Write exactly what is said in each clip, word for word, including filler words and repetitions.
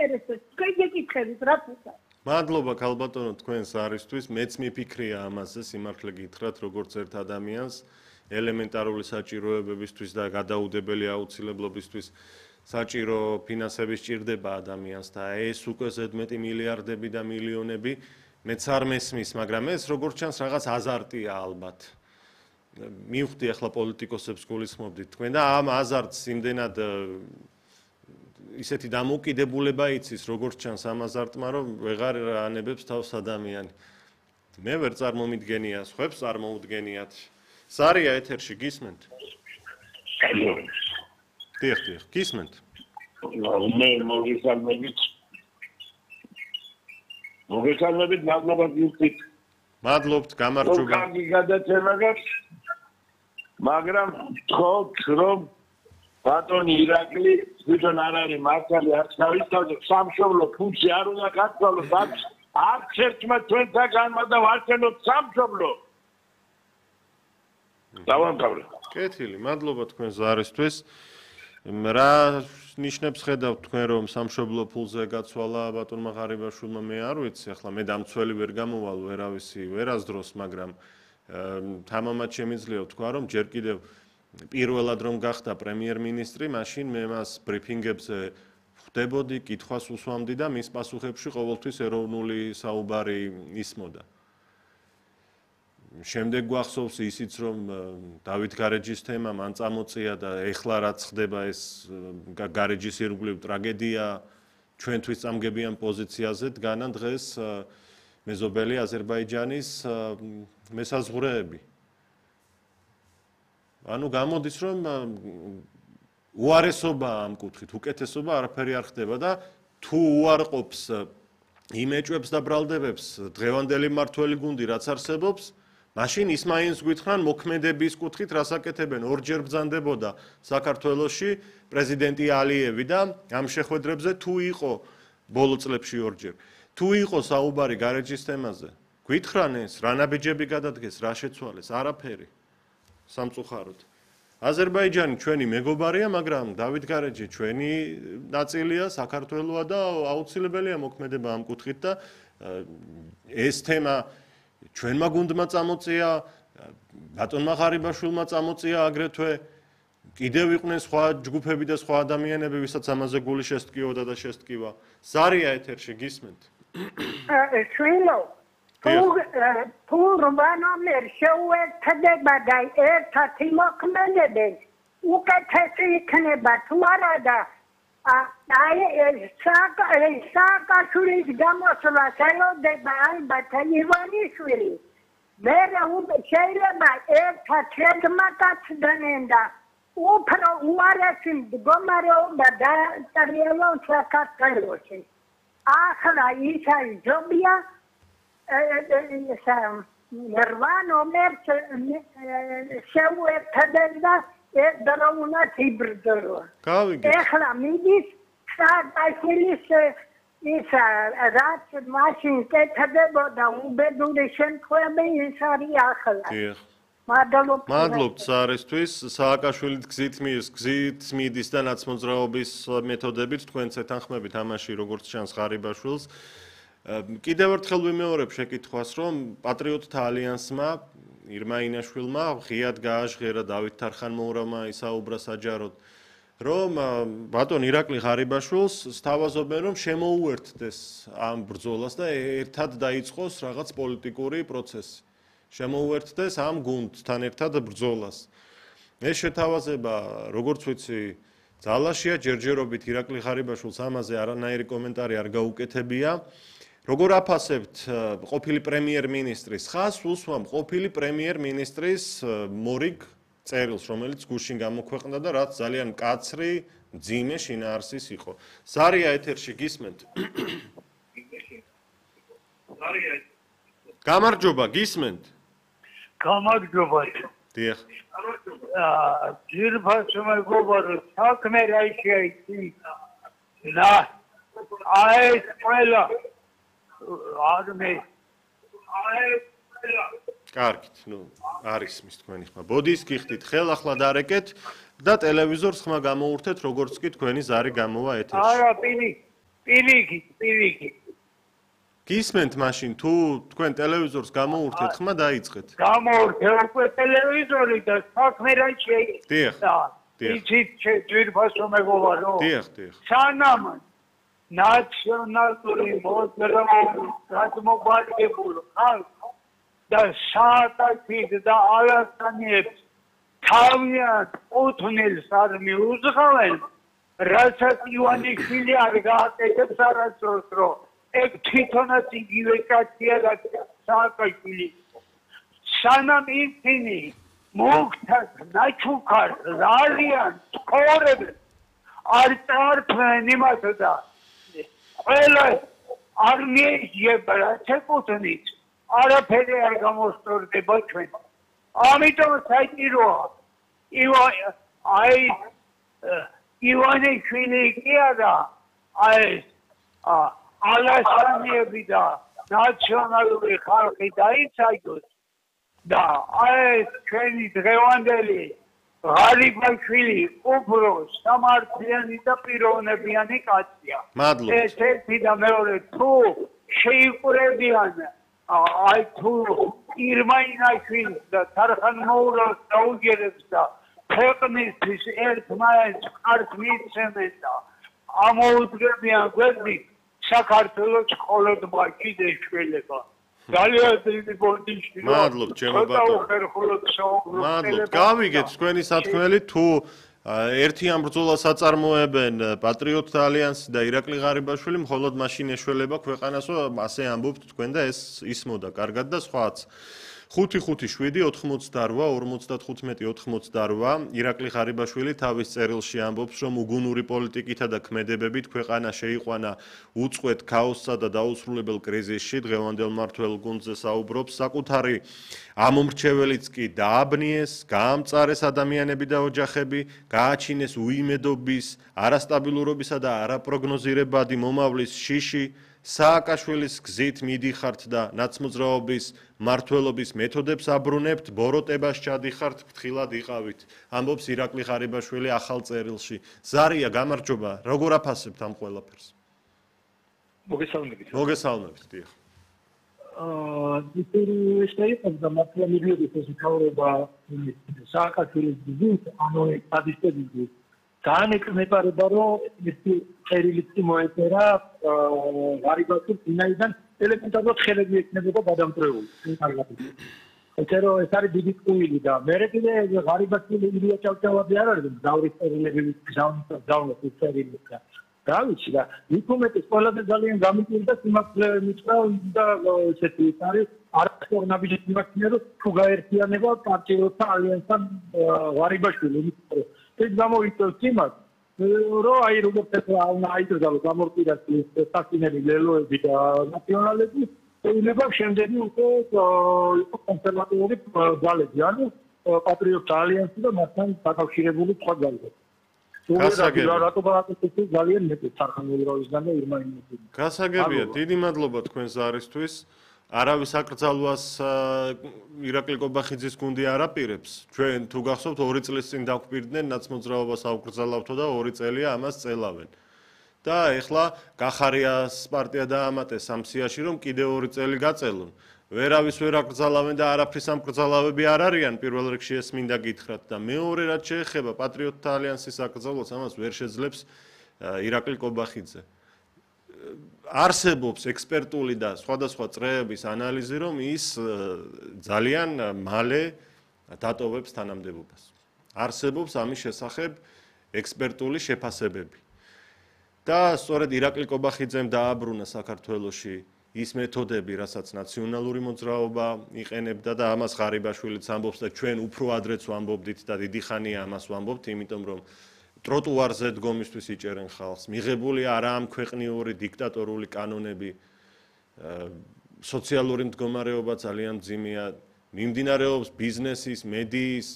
საინტერესო შეგეკითხებით რა თქმა. მადლობა ქალბატონო თქვენს არისთვის, მეც მიფიქრია ამაზე, სიმართლე გითხრათ, როგორც ერთ ადამიანს, ელემენტარული საჭიროებებისთვის და გადაუდებელი აუცილებლობისთვის საჭირო ფინანსები სჭირდება ადამიანს და ეს უკვე ზედმეტი მილიარდები და მილიონები მეც არ მესმის, მაგრამ ეს როგორც ჩანს რაღაც აზარტია ალბათ. მივხვდი ახლა პოლიტიკოსებს გულისხმობდით თქვენ და ამ აზარტს იმდენად ისეთი დამოუკიდებულება იცის, როგორც ჩანს ამ აზარტმა, რომ ვეღარ ანებებს თავს ადამიანი. მე ვერ წარმომიდგენია, სხვებს წარმოუდგენიათ. სარია ეთერში გისმენთ? დიახ, დიახ, გისმენთ. მე მოგესალმებით. მოგესალმებით, მადლობა გიხდით. მადლობთ, გამარჯობა. კარგი გადაცემა გაქვს. მაგრამ თხოვთ, რომ ბატონი ირაკლი თვითონ არ არის მართალი არც თავისთავად სამშობლო ფუნქცია არ უნდა გაცვალოს არც ერთმა თქვენთაგანმა და ვარჩენოთ სამშობლო. დავამთავრე. კეთილი, მადლობა თქვენ ზარისთვის. რა ნიშნებს ხედავთ თქვენ რომ სამშობლო ფულზე გაცვალა ბატონმა ღარიბაშვილმა მე არ ვიცი, ახლა მე დამცველი ვერ გამოვალ ვერავისი ვერასდროს, მაგრამ თამამად შემიძლია ვთქვა რომ ჯერ კიდევ პირველად რომ გახდა პრემიერ-მინისტრი, მაშინ მე მას ბრიფინგებზე ხვდებოდი, კითხვას უსვამდი და მის პასუხებში ყოველთვის ეროვნული საუბარი ისმოდა. შემდეგ გვახსოვს ისიც რომ დავით გარეჯის თემა მან წამოწია და ეხლა რაც ხდება ეს გარეჯის ირგვლივ ტრაგედია ჩვენთვის წამგებიან პოზიციაზე დგანან დღეს მეზობელი აზერბაიჯანის მესაზღვრეები. ანუ გამოდის რომ უარესობა ამ კუთხით, უკეთესობა არაფერი არ ხდება და თუ უარყოფს იმეჭვებს და ბრალდებებს დღევანდელი მმართველი გუნდი რაც არსებობს, მაშინ ის მაინც გვითხრან მოქმედების კუთხით რას აკეთებენ, ორჯერ ბრძანდებოდა საქართველოში პრეზიდენტი ალიევი და ამ შეხვედრებზე თუ იყო ბოლო წლებში ორჯერ, თუ იყო საუბარი გარეჯის თემაზე, გვითხრან ეს, რა ნაბიჯები გადადგეს, რა შეცვალეს, არაფერი. სამწუხაროდ. აზერბაიჯანი ჩვენი მეგობარია, მაგრამ დავით გარეჯი ჩვენი ნაწილია, საქართველოა და აუცილებელია მოქმედება ამ კუთხით და ეს თემა ჩვენმა გუნდმა წამოწია, ბატონმა ღარიბაშვილმა წამოწია აგრეთვე კიდევ იყვნენ სხვა ჯგუფები და სხვა ადამიანები, ვისაც ამაზე გული შესტკიოდა და შესტკივა. სარია ეთერში გისმენთ? შვილო თუ რვანომერ შეუერთდება და ერთად იმოქმედებენ, უკეთესი იქნება თუ არა და აი სააკაშვილის გამოსვლას ელოდება ალბათ ივანიშვილი. მე შეიძლება ერთად შეგმაკაცდნენ და უფრო უარესი მდგომარეობა დააჭრიელონ საქართველოში. ახლა ის არის ჯობია რვანომერს შეუერთდნენ და ერთდროულად იბრძოლა. ეხლა მიდის სააკაშვილის ის რაც მაშინ კეთდებოდა უბედური შემთხვევები ის არის ახლა. მადლობთ სარისთვის, სააკაშვილით გზით მიირს, გზით მიდის და ნაცმოძრაობის მეთოდებით თქვენც ეთანხმებით ამაში როგორც ჩანს ღარიბაშვილს. კიდევ ერთხელ ვიმეორებ შეკითხვას, რომ პატრიოტთა ალიანსმა ირმა ინაშვილმა ღიად გააჟღერა დავით თარხანმოურავმა ისაუბრა საჯაროდ, რომ ბატონ ირაკლი ღარიბაშვილს სთავაზობენ, რომ შემოუერთდეს ამ ბრძოლას და ერთად დაიწყოს რაღაც პოლიტიკური პროცესი. შემოუერთდეს ამ გუნდთან ერთად ბრძოლას. ეს შეთავაზება, როგორც ვიცი, ძალაშია ჯერჯერობით ირაკლი ღარიბაშვილს ამაზე არანაირი კომენტარი არ გაუკეთებია. როგორ აფასებთ ყოფილი პრემიერ-მინისტრის ხაზს, უსვამ ყოფილი პრემიერ-მინისტრის მორიგ წერილს, რომელიც გუშინ გამოქვეყნდა და რაც ძალიან მკაცრი, მძიმე შინაარსის იყო. სარია ეთერში გისმენთ? გამარჯობა, გისმენთ? გამარჯობა. დიახ. ძირფასო მეგობარო, საქმე რა შეიძლება? და აი ყველა არმე აი კარგით, ნუ არის მის თქვენი ხმა. ბოდის გიხდით, ხელ ახლა დარეკეთ და ტელევიზორს ხმა გამოურთეთ, როგორც კი თქვენი ზარი გამოვა ეთერში. არა, პინი. პირიქით, პირიქით. გისმენთ მაშინ თუ თქვენ ტელევიზორს გამოურთეთ, ხმა დაიწყეთ. გამოურთე უკვე ტელევიზორი და საქმე რა შეიძლება. იცით ძვირფასო მეგობარო. დიახ, დიახ. სანამ ნაციონალური მოძრაობის გადმოგვარებული ხალხი და საათით და ალასტანიებს თავიანთ უთნილს არ მიუძღავენ, რასაც ივანიშვილი არ გააკეთებს არასდროს, რომ ეგ თვითონაც იგივე კაცია, რაც სააკაშვილი. სანამ ისინი მოგთას ნაჩუქარ ზალიან ცხოვრებენ არ წარფენ იმას და ყველა არ მიეძიება რაც ეკუთვნით არაფერი არ გამოსწორდება ჩვენ. ამიტომ საჭიროა აი ივანიშვილი კი არა აი ალასტანიები და ნაციონალური ხალხი დაიცაჯოს და აი ჩვენი დღევანდელი ღარიბაშვილი უფრო სამართლიანი და პიროვნებიანი კაცია. ეს ერთი და მეორე თუ შეიყურებიან აი თუ ირმაინაშვილს და თარხან მოურავს დაუჯერებს და ქვეყნისთვის ერთმანეთს ხარს მიცემენ და ამოუძღებიან გვერდით საქართველოს მხოლოდ მაშინ ეშველება. ძალიან დიდი პოზიცია. მადლობ, ჩემო ბატონო. მადლობ. გავიგეთ თქვენი სათქმელი თუ ერთი ამ ბრძოლას აწარმოებენ პატრიოტთა ალიანსი და ირაკლი ღარიბაშვილი, მხოლოდ მაშინ ეშველება ქვეყანასო, ასე ამბობთ თქვენ და ეს ისმოდა კარგად და სხვაც. ხუთი ხუთი შვიდი ოთხმოცდაორვა ორმოცდათხუთმეტი ოთხმოცდაორვა ირაკლი ღარიბაშვილი თავის წერილში ამბობს, რომ უგუნური პოლიტიკითა და ქმედებებით ქვეყანა შეიყვანა უწყვეტ ქაოსსა და დაუსრულებელ კრიზისში. დღევანდელ მმართველ გუნდზე საუბრობს, საკუთარი ამომრჩეველიც კი დააბნიეს, გაამწარეს ადამიანები და ოჯახები, გააჩინეს უიმედობის, არასტაბილურობისა და არაპროგნოზირებადი მომავლის შიში. სააკაშვილის გზით მიდიხართ და ნაცმოძრაობის მმართველობის მეთოდებს აბრუნებთ, ბოროტებას ჩადიხართ, ფრთხილად იყავით. ამბობს ირაკლი ღარიბაშვილი ახალ წერილში. ზარია, გამარჯობა, როგორ აფასებთ ამ ყველაფერს? მოგესალმებით. მოგესალმებით, დიახ. აა, ის შეიძლება და მართლმადიდებლობის ეს თავრობა სააკაშვილის გზით, ანუ ადისტების განეკნებარება, რომ ეს წერილიც მოეწერა ღარიბაშვილს ვინაიდან ელემენტარულად ხელები ექნებოდა გადამწრეული. ესე რომ ეს არის დიდი ტყუილი და მე კიდე ღარიბაშვილი ილია ჭავჭავაძე არ არის მგზავრის წერილები მგზავროს წერილები და რა ვიცი და ინფორმატის ყველაზე ძალიან გამიკვირდა სიმართლე მიწა და ესეთი არის არასწორნაბიჯი სიმართლე რომ თუ გაერთიანება პარტიოთა ალიანსთან ღარიბაშვილი ეს გამოიწვევს იმას რომ აი როგორც ახლა აიძულოს გამორკვირას სასინელი ლელოები და ნაციონალები შეიძლება შემდეგი უკვე იყო კონსერვატიული ძალები ანუ პატრიოტთა ალიანსი და მასთან დაკავშირებული სხვა ძალები. გასაგებია, დიდი მადლობა თქვენ ზარისთვის. არავის აკრძალვას ირაკლი კობახიძის გუნდი არ აპირებს. ჩვენ თუ გახსოვთ ორი წლის წინ დაგვპირდნენ ნაცმოძრაობას აუკრძალავთო და ორი წელია ამას წელავენ. და ეხლა გახარიას პარტია დაამატეს ამ სიაში, რომ კიდე ორი წელი გაწელონ. ვერავის ვერ აკრძალავენ და არაფრის ამ კრძალავები არ არიან, პირველ რიგში ეს მინდა გითხრათ და მეორე რაც შეეხება პატრიოტთა ალიანსის აკრძალვას, ამას ვერ შეძლებს ირაკლი კობახიძე. არსებობს ექსპერტული და სხვადასხვა წრეების ანალიზი, რომ ის ძალიან მალე დატოვებს თანამდებობას. არსებობს ამის შესახებ ექსპერტული შეფასებები. და სწორედ ირაკლი კობახიძემ დააბრუნა საქართველოში ის მეთოდები, რასაც ნაციონალური მოძრაობა იყენებდა და ამას ღარიბაშვილიც ამბობს და ჩვენ უფრო ადრეც ვამბობდით და დიდი ხანია ამას ვამბობთ, იმიტომ რომ ტროტუარზე დგომისთვის იჭერენ ხალხს. მიღებული არა ამ ქვეყნიური დიქტატორული კანონები, სოციალური მდგომარეობა ძალიან მძიმეა, მიმდინარეობს ბიზნესის, მედიის,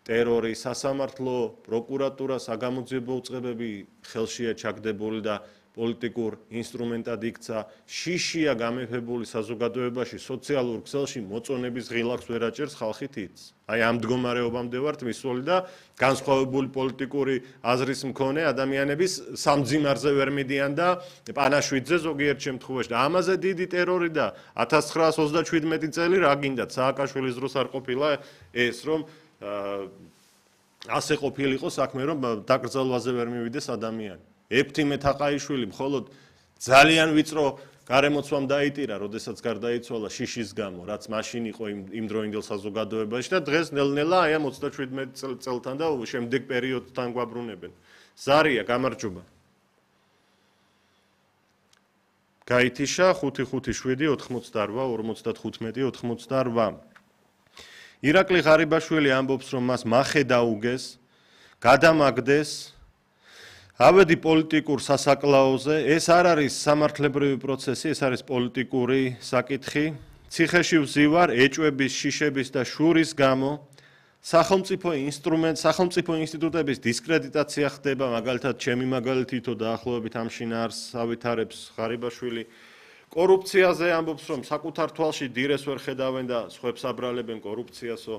ტერორი, სასამართლო, პროკურატურა, საგამოძიებო უწყებები ხელშია ჩაგდებული და პოლიტიკურ ინსტრუმენტად იქცა, შიშია გამეფებული საზოგადოებაში, სოციალურ ქსელში მოწონების ღილაკს ვერ აჭერს ხალხი თითს. აი ამ მდგომარეობამდე ვართ მისული და განსხვავებული პოლიტიკური აზრის მქონე ადამიანების სამძიმარზე ვერ მიდიან და პანაშვიდზე ზოგიერთ შემთხვევაში და ამაზე დიდი ტერორი და ათას ცხრაას ოცდაშვიდმეტი წელი რა გინდათ სააკაშვილის დროს არ ყოფილა ეს რომ ასე ყოფილიყო საქმე რომ დაკრძალვაზე ვერ მივიდეს ადამიანი. ეფთიმე თაყაიშვილი მხოლოდ ძალიან ვიწრო გარემოცვამ დაიტირა, როდესაც გარდაიცვალა შიშის გამო, რაც მაშინ იყო იმ დროინდელ საზოგადოებაში და დღეს ნელ-ნელა აი ამ ოცდაშვიდმეტ წელთან და შემდეგ პერიოდთან გვაბრუნებენ. ზარია, გამარჯობა. გაითიშა ხუთი ხუთი შვიდი ოთხმოცდაორვა ორმოცდათხუთმეტი ოთხმოცდაორვა. ირაკლი ღარიბაშვილი ამბობს, რომ მას მახე დაუგეს, გადამაგდეს ავედი პოლიტიკურ სასაკლაოზე, ეს არ არის სამართლებრივი პროცესი, ეს არის პოლიტიკური საკითხი. ციხეში ვზივარ ეჭვების, შიშების და შურის გამო სახელმწიფო ინსტრუმენტ, სახელმწიფო ინსტიტუტების დისკრედიტაცია ხდება, მაგალითად, ჩემი მაგალითი თო დაახლოებით ამ შინაარსს ავითარებს ღარიბაშვილი. კორუფციაზე ამბობს, რომ საკუთარ თვალში დირეს ვერ ხედავენ და სხვებს აბრალებენ კორუფციასო.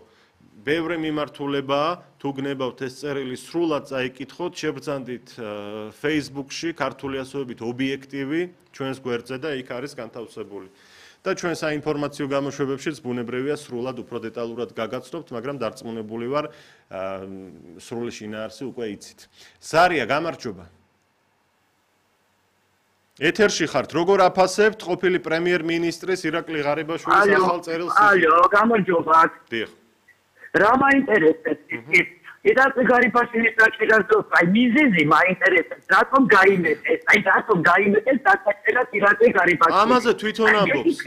ბევრი მიმართულებაა, თუ გნებავთ ეს წერილი სრულად წაიკითხოთ, შებრძანდით Facebook-ში ქართული ასოებით ობიექტივი ჩვენს გვერდზე და იქ არის განთავსებული. და ჩვენ საინფორმაციო გამოშვებებშიც ბუნებრივია სრულად უფრო დეტალურად გაგაცნობთ, მაგრამ დარწმუნებული ვარ, სრული შინაარსი უკვე იცით. ზარია, გამარჯობა. ეთერში ხართ, როგორ აფასებთ ყოფილი პრემიერ-მინისტრის ირაკლი ღარიბაშვილის ახალ წერილს? ალო, გამარჯობა. დიახ. რა მაინტერესებს ის? ირაკლი ღარიბაშვილის საჭიროა, აი მიზეზი მაინტერესებს, რატომ გაიმეტეს? აი რატომ გაიმეტეს დასაჭერად ირაკლი ღარიბაშვილს? ამაზე თვითონ ამბობს.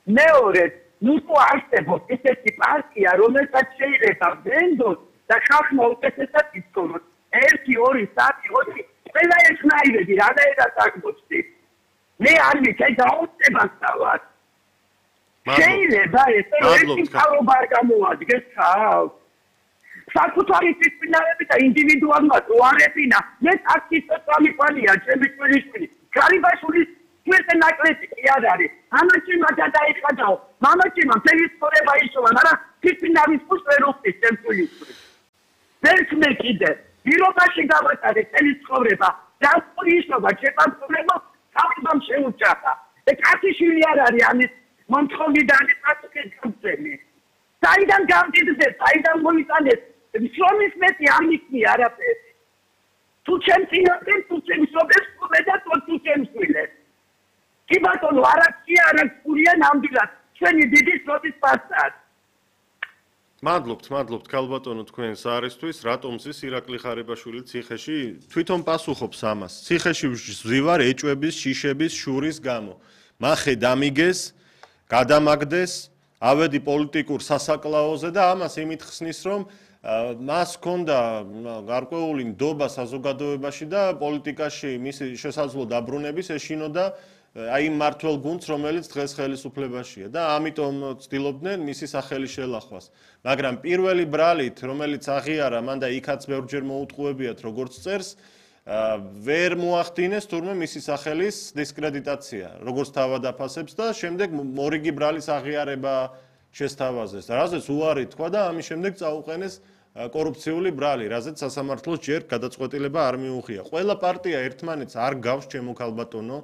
მეორე, ნუ თუ არსებობს ესეთი პარტია, რომელსაც შეიძლება ვენდოს და ხალხმა უკეთესად იცხოვროს. ერთი, ორი, სამი, ოთხი ყველა ერთნაირები რანაირად აღმოჩნდი. მე არ ვიცი დაუწებას დავარ. შეიძლება ეს ერთი ხალხობა არ გამოადგეს ხალხს. საკუთარი სისწინააღმდეგე და ინდივიდუალმა უარებინა. მე ტაქსისტ სამიყვანია, ჩემი თვითი. ღარიბაშვილის ჩვენზე ნაკლები კი არ არის. მამაჩიმა გადაიხადაო. მამაჩიმა მთელი ცხოვრება იშოვა, მაგრამ სისწინააღმდეგეს კუს ვერ უხდის ჩემ თვითი. ვერც მე კიდე პირობაში გავატარე წელი ცხოვრება და ისობა შეფასება თავიდან შეუჭახა და კაციშვილი არ არის ამის მომთხოვნიდან პასუხი გამწენი საიდან გამდიდზე საიდან მოიტანეს შრომის მეტი არ მიქნი არაფერი თუ ჩემ წინაშე თუ ჩემ სოფელს და თუ ჩემ შვილებს კი ბატონო არაცი არაცურია ნამდვილად ჩვენი დიდი სოფლის პასტად მადლობთ, მადლობთ ქალბატონო თქვენს არისთვის, რატომ ზის ირაკლი ღარიბაშვილი ციხეში თვითონ პასუხობს ამას. ციხეში ვზივარ ეჭვების, შიშების, შურის გამო. მახე დამიგეს, გადამაგდეს, ავედი პოლიტიკურ სასაკლაოზე და ამას იმით ხსნის, რომ მას ჰქონდა გარკვეული ნდობა საზოგადოებაში და პოლიტიკაში მისი შესაძლო დაბრუნების ეშინოდა აი მართლ გუნდს, რომელიც დღეს ხელისუფლებაშია და ამიტომ ცდილობდნენ მისი სახელი შელახვას. მაგრამ პირველი ბრალით, რომელიც აღიარა, მან და იქაც ბევრჯერ მოუტყუებიათ, როგორც წერს, ვერ მოახდინეს თურმე მისი სახელის დისკრედიტაცია, როგორც თავად აფასებს და შემდეგ მორიგი ბრალის აღიარება შესთავაზეს. რაზეც უარი თქვა და ამის შემდეგ წაუყენეს კორუფციული ბრალი, რაზეც სასამართლოს ჯერ გადაწყვეტილება არ მიუღია. ყველა პარტია ერთმანეთს არ გავს ჩემო ქალბატონო.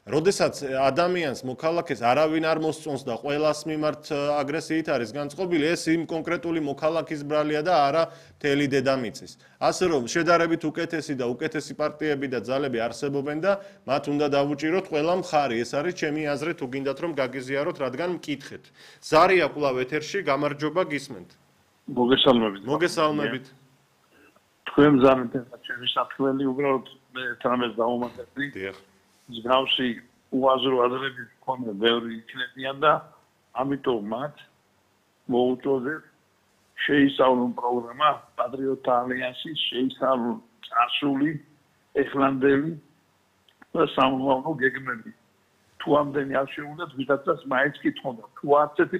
როდესაც ადამიანს მოქალაქეს არავინ არ მოსწონს და ყველას მიმართ აგრესიით არის განწყობილი, ეს იმ კონკრეტული მოქალაქის ბრალია და არა მთელი დედამიწის. ასე რომ შედარებით უკეთესი და უკეთესი პარტიები და ძალები არსებობენ და მათ უნდა დავუჭიროთ ყველა მხარი. ეს არის ჩემი აზრი, თუ გინდათ რომ გაგიზიაროთ, რადგან მკითხეთ. ზარია კვლავ ეთერში, გამარჯობა, გისმენთ. მოგესალმებით. მოგესალმებით. თქვენ ზამეთ ჩემი საფრთხელი უბრალოდ მე თამეს დაუმატებდი. დიახ. მსგავსი უაზრო აზრები მქონე ბევრი იქნებიან და ამიტომ მათ მოუწოდეთ შეისწავლონ პროგრამა პატრიოტთა ალიანსის, შეისწავლონ წარსული, ეხლანდელი და სამომავლო გეგმები. თუ ამდენი არ შეუნდათ, ვიდაცაც მაინც კითხონდა, თუ არც ერთი